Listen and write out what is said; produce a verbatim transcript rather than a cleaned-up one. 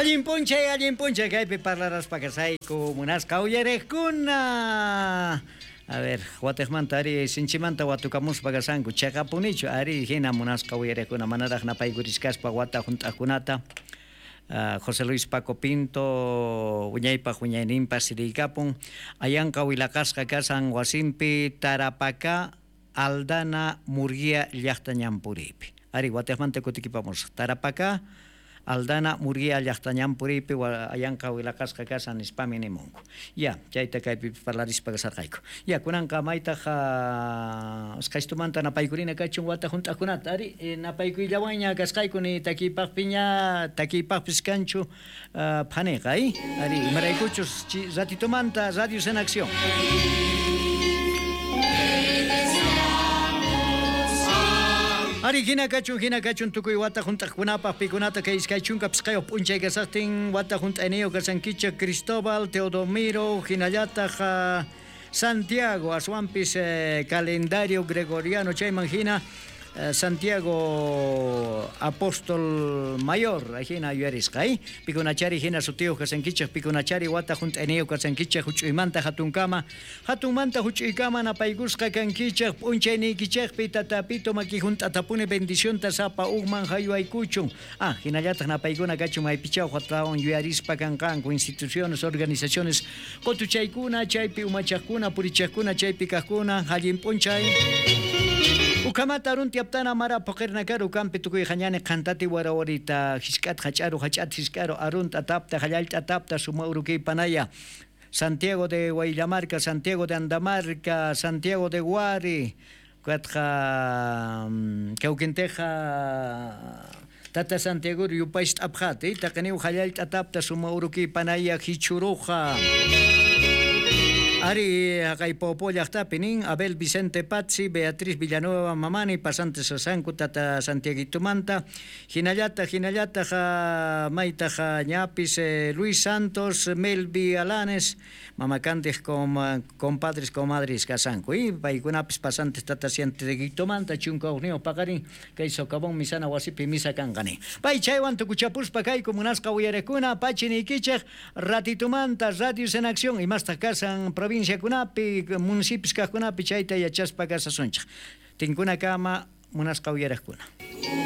Allin p'unchay, allin p'unchay kaypi parlaraspa kasayku munasqa uyariqkuna. A ver, watejmanta ari sinchimanta watukamuspa kasanku chaqapunichu ari hina munasqa uyariqkuna manaraq napaykurisqaspa wata hunt'aqkunata. Uh, José Luis Paco Pinto wiñaypaq wiñayninpas siriykapun ayanqa wilaqasqa kasan wasinpi Tarapacá Aldana Murguía llaqta ñanpuripi. Ari watejmanta kutikipamos Tarapacá Aldana Murguía llaqta ñanpuripi ayanqa wilaqasqa kasan nispami nimunku. Ya, chayta kaypi parlarispa kasarqayku. Ya, kunanqa maytaq usqhaystumanta napaykurina kachun wata hunt'aqkunata. Ari, e, napaykuyllawanña kasqayku ni takiypaqpiña takiypaqpis kanchu uh, phaniqa, eh? Ari, imaraykuchus ratitumanta Radios en Acción. Ari hina kachun hina kachun tukuy wata hunt'aqkunapaq pikunata kay iskay chunka pisqayuq p'unchay kasaqtin wata hunt'ayniyuq kasankichik Cristóbal, Teodomiro, hinallataq uh, Santiago, aswanpis eh, calendario gregoriano chayman hina eh, Santiago apóstol mayor hina yuyarisqa, eh? Pikunachari hina sutiyuq kasankichik pikunachari wata hunt'ayniyuq kasankichik huch'uymanta hatunkama hatunmanta huch'uykama napaykusqa kankichik p'unchayniykichikpi tatapito maki hunt'atapuni bendicionta sapa uqman haywaykuchun. Ah, hinallataq napaykuna kachun maypichaw watawan yuyarispa kanqanku instituciones, organizaciones qotuchaykuna chaypi umachaqkuna purichaqkuna chaypi kaqkuna allin p'unchay. Ukamata aruntiaptana mara poqirnakaru kampi tukuy hañani qantati warawarita hisk'at hach'aru hach'at hisk'aru arunta tapta hallallta tapta suma urukipanaya Santiago de Guayllamarca, Santiago de Andamarca, Santiago de Guari, katqa Cauquenteja Tata Santiago yupayst apjati taqaniw hallallta tapta suma urukipanaya hichuruja. Ari haqay Popo llaqtapi nin Abel Vicente Pazzi, Beatriz Villanueva Mamani, pasantes sasanku tata Santiaguitumanta, hinallataq hinallataq maytaq ñapis eh, Luis Santos, Melvi Alanes, mamakantiq com, compadres comadres kasanku y paykunapis pasantes tata Santiaguitumanta chunka hukniyuq paqarin kay socavón misana wasipi misa kanqani. Pay chaywan tukuchapuspa kayku munasqa uyariqkuna pachiniykichik ratitumanta Radios en Acción imastaq kasan provincia kunapi, municipios kaqkunapi chayta yachaspa kasasunchik. Tinkunakama munasqa uyariqkuna.